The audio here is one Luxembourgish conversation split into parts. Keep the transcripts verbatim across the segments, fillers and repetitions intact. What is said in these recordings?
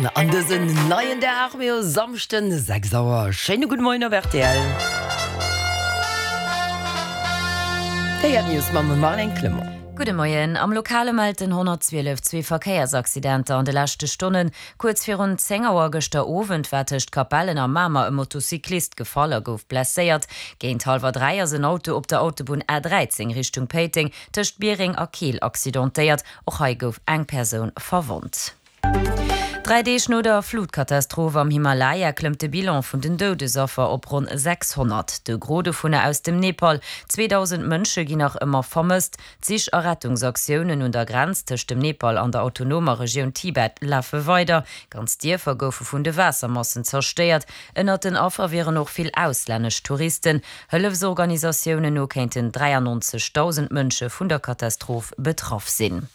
Moien an dësen neien Dag mir hu Samschden sechs Auer. Schéine gudde Moien op rtl. Déi News mam Marlène Clement. Gudde Moien. Am Lokale mellt den honnertzwielef zwee Verkéiersaccidenter an de leschte Stonnen. Kuerz virun zéng Auer gëschter Owend war tëscht Capellen a Mamer e Motocyclist gefall a gouf blesséiert. Géint hallwer dräi ass en Auto op der Autobunn A dräizéng Richtung Péiteng tëscht Biereng a Keel accidentéiert. Och hei gouf eng Persoun verwonnt. Dräi Deeg no der Flutkatastroph am Himalaya klëmmt de Bilan vun den Doudesaffer op ronn sechshonnert, de Gros dovunner aus dem Nepal. zweedausend Mënsche ginn nach ëmmer vermësst. D'Sich a Rettungsaktiounen un der Grenz tëscht dem Nepal an der autonomer Regioun Tibet lafe weider. Ganz Dierfer goufe vun de Waassermassen zerstéiert. Ënnert den Affer wieren och vill auslännesch Touristen. Hëllefsorganisatiounen no kéinten dräiannonzegdausend Mënsche vun der Katastroph betraff sinn.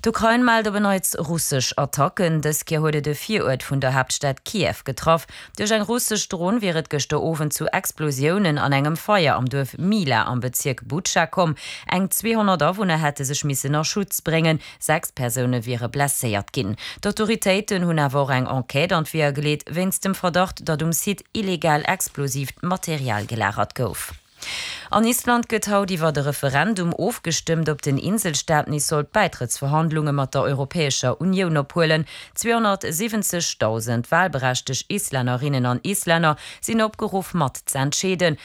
D'Ukrain mellt op en Neits russesch Attacken. Dës Kéier huet et e Viruert vun der Haaptstad Kiew getraff. Duerch eng russesch Dron wier et gëschter Owend zu Explosiounen an engem Feier am Duerf Mila am Bezierk Butscha komm. Eng zweehonnert Awunner hätte sech missen a Schutz bréngen, sechs Persoune wiere blesséiert ginn. D'Autoritéiten hunn awer och eng Enquête an d'Weeër geleet, wéinst dem Verdacht, datt um Site illegal explosiivt Material gelagert gouf. An Island gëtt haut iwwert e Referendum ofgestëmmt, ob den Inselstaat nees soll d'Bäitrëttsverhandlunge mat der Europäescher Unioun ophuelen. zweehonnertsiwwenzegdausend walberechteg Islännerinnen an Islänner sinn opgeruff mat z'entscheeden.